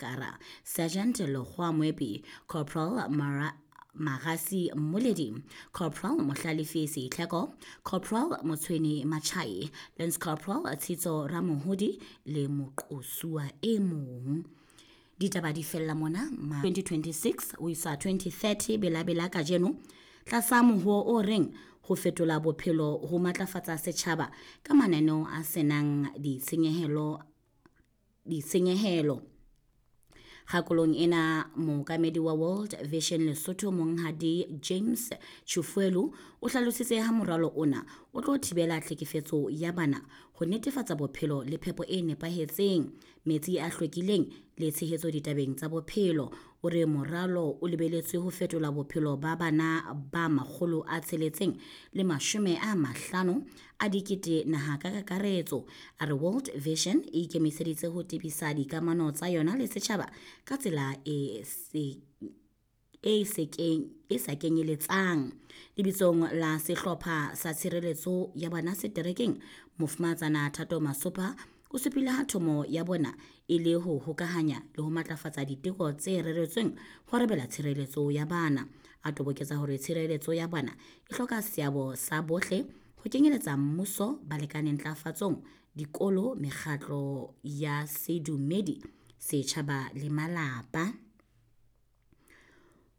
Kara, Sergeant Lekgowa Moepi, Corporal Mara Magasi Mmoledi, Corporal Mohlalefi Seitlheko, Corporal Motshweni Machai, Lance Corporal Tshitso Ramohodi le moqosuwa e mong. Ditaba di fella mona ma 2026 ho isa 2030 belabela kajeno tlasa mohoo o reng ho fetola bophelo ho matlafatsa setjhaba ka mananeo a senang ditshenyehelo ditshenyehelo. Kgakolong ena mookamedi wa World Vision Lesotho Monghadi James Chufuelu o hlalositse ha moralo ona o tlo thibela tlhekefetso ya bana ho netefatsa bophelo le phepo e nepahetseng, metsi a hlwekileng le tshehetso ditabeng tsa bophelo. O re moralo o lebeletswe ho fetola bophelo ba bana ba 650 000 naha ka kakaretso. A re World Vision e ikemiseditse ho tebisa dikamano tsa yona le setjhaba ka tsela e sa kenyeletsang. Lebitsong la sehlopha sa tshireletso ya bana seterekeng, Mofumahatsana Thato Masopha o supile ha thomo ya bona e le ho hokahanya le ho matlafatsa diteko tse reretsweng ho arabela tshireletso ya bana. A toboketsa hore tshireletso ya bana e hloka seabo sa bohle ho kenyeletsa mmuso, balekane ntlafatsong, dikolo, mekgatlo ya sedumedi, setjhaba le malapa.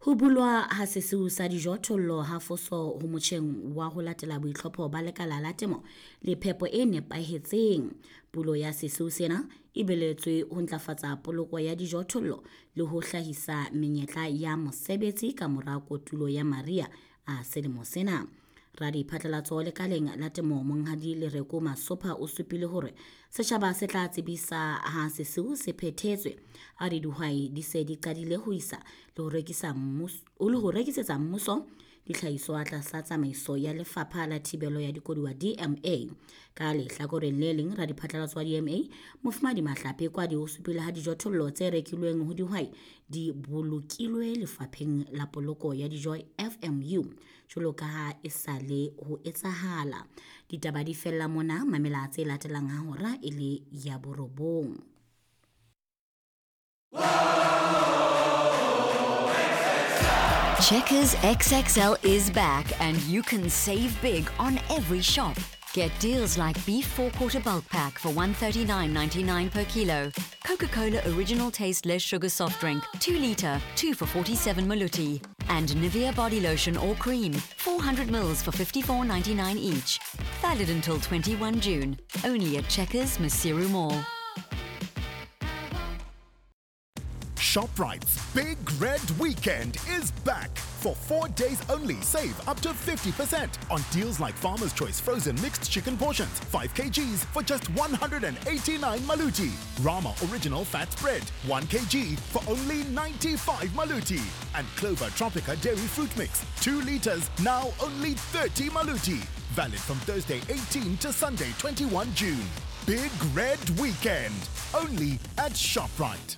Ho bulwa ha sesiu sa dijothollo ha foso ho motjheng wa ho latela boitlhopho ba lekala la temo le phepo e nepahetseng. Pulo ya sesiu sena e beletswe ho ntlafatsa poloko ya dijothollo le ho hlahisa menyetla ya mosebetsi ka mora kotulo ya mariha a selemo sena. Radiphatlalatso lekaleng la temo Monghadi Lereko Masopha o supile hore setjhaba se tla tsebisa ha sesiu se phethetswe. A re dihwai di se di qadile ho isa le ho rekisa mmuso le ho rekisetsa mmuso ditlhahiso tlasa tsamaiso ya lefapha la thibelo ya dikoduwa DMA. Ka lehlakoreng le leng, radiphatlalatso wa DMA Mofumadi Mahlape Kwadi o supile ha dijothollo tse rekilweng ho dihwai di bolokilwe lefapheng la poloko ya dijo FMU jwalo ka ha e sa le ho etsahala. Ditaba di fella mona, mamela tse latelang ha hora e le ya 9. Checkers XXL is back and you can save big on every shop. Get deals like beef 4-quarter bulk pack for $139.99 per kilo, Coca-Cola original taste less sugar soft drink, 2 litre, 2 for 47 maluti, and Nivea body lotion or cream, 400 mils for $54.99 each. Valid until 21 June, only at Checkers Maseru Mall. ShopRite's Big Red Weekend is back. For 4 days only, save up to 50% on deals like Farmer's Choice frozen mixed chicken portions, 5 kgs for just 189 maluti. Rama Original Fat Spread, 1 kg for only 95 maluti. And Clover Tropica Dairy Fruit Mix, 2 liters, now only 30 maluti. Valid from Thursday 18 to Sunday 21 June. Big Red Weekend, only at ShopRite.